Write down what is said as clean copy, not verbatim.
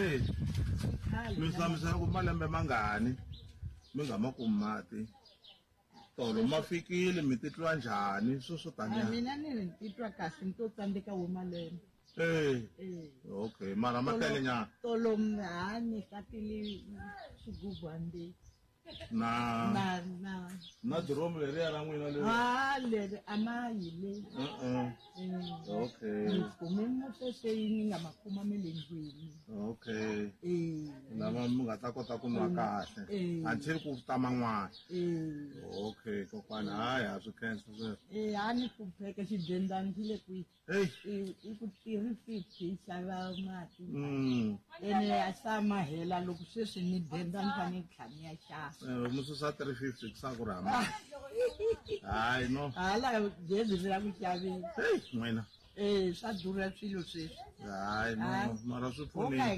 Eh, Khale mi hlamusela ku malembe mangani mi nga ma kumi mati tolo ma fikile mi titwa njhani swo swo A taniya mina ni ri ni titwa kahle ni to tsandzeka wo malembe. Eh, Eh. okay mara ma tele nyana Tolo ha ni tatile xigubu hambi na na na na diromu leriya ra n'wina leri ha leri a ma yi le. Uh-uh. Eh. Okay. Ni kume mosese ni nga ma kuma me le ndlwini. Okay. Eh. Lama mi nga ta kota ku nwa kahle Eh. until ku ta man'wana. Eh. Okay, kokwana hayi ha swi khensa sweswo. Eh, a ni hlupheka xidendani xi le kwihi. Hey. I ku 350 yi xava mati. Mm. Ene a sa ma hela loko sweswi ni denda ni fanele ni tlhela ni ya xava. Eh, mi susa 350 ku sa ku ri hamba. Hayi no. Hala gezi ri la ku xaveni. Hey, n'wina. Eh, swa durha swilo sweswi. Hayi no, Hayi. mara swi Ho ka hi pfunile. nga